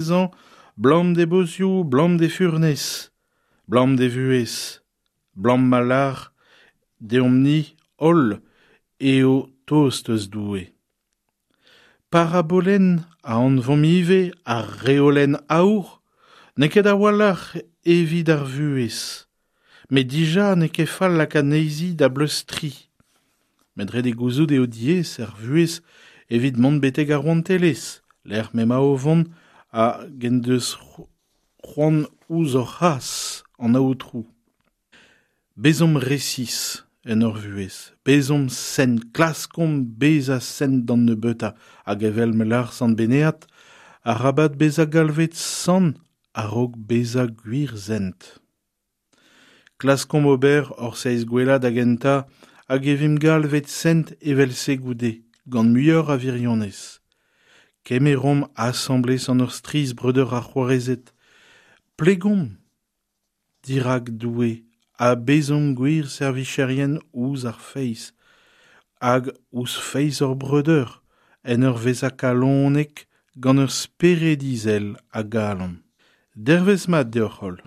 Dezhañ 'blam d'e bozioù, 'blam d'e furnez, 'blam d'e vuhez, 'blam ma lâr deomp-ni holl eo tost eus Doue. Parabolenn a anvomp ivez ar reolenn aour n'eo ket a-walc'h evit ar vuhez, met dija n'eo ket fall lakaat anezhi da bleustriñ. Met ret eo gouzout eo diaes er vuhez evit mont betek ar rouantelezh, lec'h m'emañ o vont hag en deus c'hoant ouzh hor c'has, an Aotrou. Bezomp resis en hor vuhez, bezomp sent, klaskomp bezañ sent d'an nebeutañ hag evel ma lâr Sant Benead, arabat bezañ galvet sant a-raok bezañ gwir sent. Klaskomp ober hor seizh gwellañ da gentañ hag e vimp galvet sent evel-se goude, gant muioc'h a wirionez. Kemeromp asambles an hor strizh breudeur ha c'hoarezed. Plegomp dirak Doue ha bezomp gwir servicherien ouzh ar feiz hag ouzh feiz hor breudeur en ur vezañ kalonek gant ur spered izel a galon. Dervezh mat deoc'h-holl.